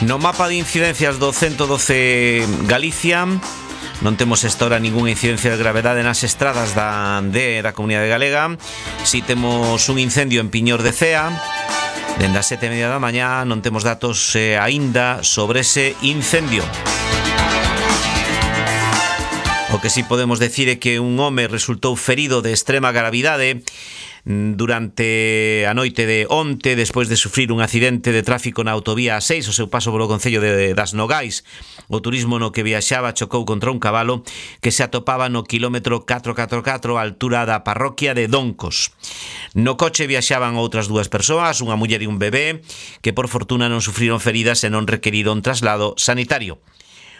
No mapa de incidencias do 112 Galicia non temos esta hora ningunha incidencia de gravedade nas estradas da Comunidade Galega. Si temos un incendio en Piñor de Cea. Dende as 7:30 da mañá non temos datos aínda sobre ese incendio. O que si podemos decir é que un home resultou ferido de extrema gravidade durante a noite de onte, despois de sufrir un accidente de tráfico na autovía A6, o seu paso polo concello das Nogais. O turismo no que viaxaba chocou contra un cabalo que se atopaba no quilómetro 444 á altura da parroquia de Doncos. No coche viaxaban outras dúas persoas, unha muller e un bebé, que por fortuna non sufriron feridas e non requeriron traslado sanitario.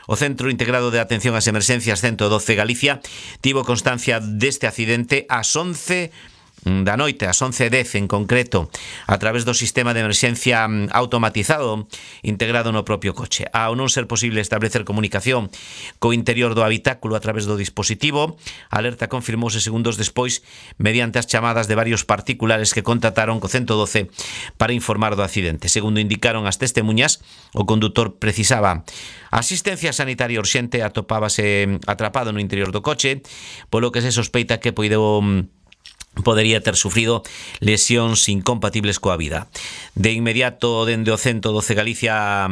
O Centro Integrado de Atención ás Emerxencias 112 Galicia tivo constancia deste accidente ás 11 da noite, ás 11:10 en concreto, a través do sistema de emerxencia automatizado integrado no propio coche. Ao non ser posible establecer comunicación co interior do habitáculo a través do dispositivo, a alerta confirmouse segundos despois mediante as chamadas de varios particulares que contactaron co 112 para informar do accidente. Segundo indicaron as testemuñas, o condutor precisaba asistencia sanitaria urxente, atopábase atrapado no interior do coche, polo que se sospeita que podería ter sufrido lesións incompatibles coa vida. De inmediato, dende o 112 Galicia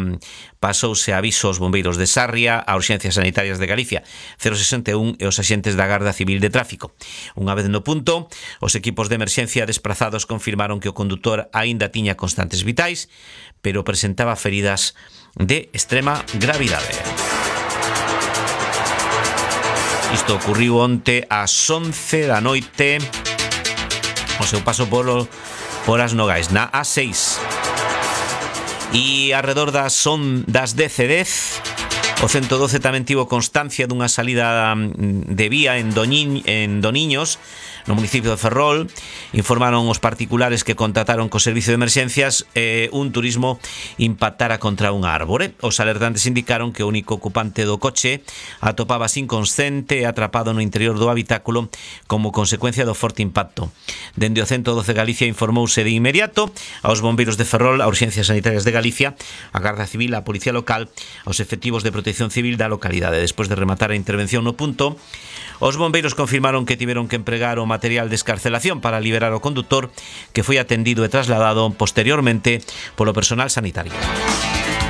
pasouse aviso aos bombeiros de Sarria, a Urxencias Sanitarias de Galicia 061 e os axentes da Garda Civil de Tráfico. Unha vez no punto, os equipos de emerxencia desprazados confirmaron que o condutor aínda tiña constantes vitais, pero presentaba feridas de extrema gravidade. Isto ocurriu onte ás 11 da noite o seu paso por as Nogais, na A6. E arredor das 10:10, o 112 tamén tivo constancia dunha salida de vía en Doniños, no municipio de Ferrol. Informaron os particulares que contactaron co servicio de emerxencias un turismo impactara contra unha árbore. Os alertantes indicaron que o único ocupante do coche atopábase inconsciente e atrapado no interior do habitáculo como consecuencia do forte impacto. Dende o 112 Galicia informouse de inmediato aos bombeiros de Ferrol, a Urxencias Sanitarias de Galicia, a Garda Civil, a Policía Local, aos efectivos de Protección Civil da localidade. Despois de rematar a intervención no punto, os bombeiros confirmaron que tiveron que empregar o material de escarcelación para liberar o condutor, que foi atendido e trasladado posteriormente polo personal sanitario.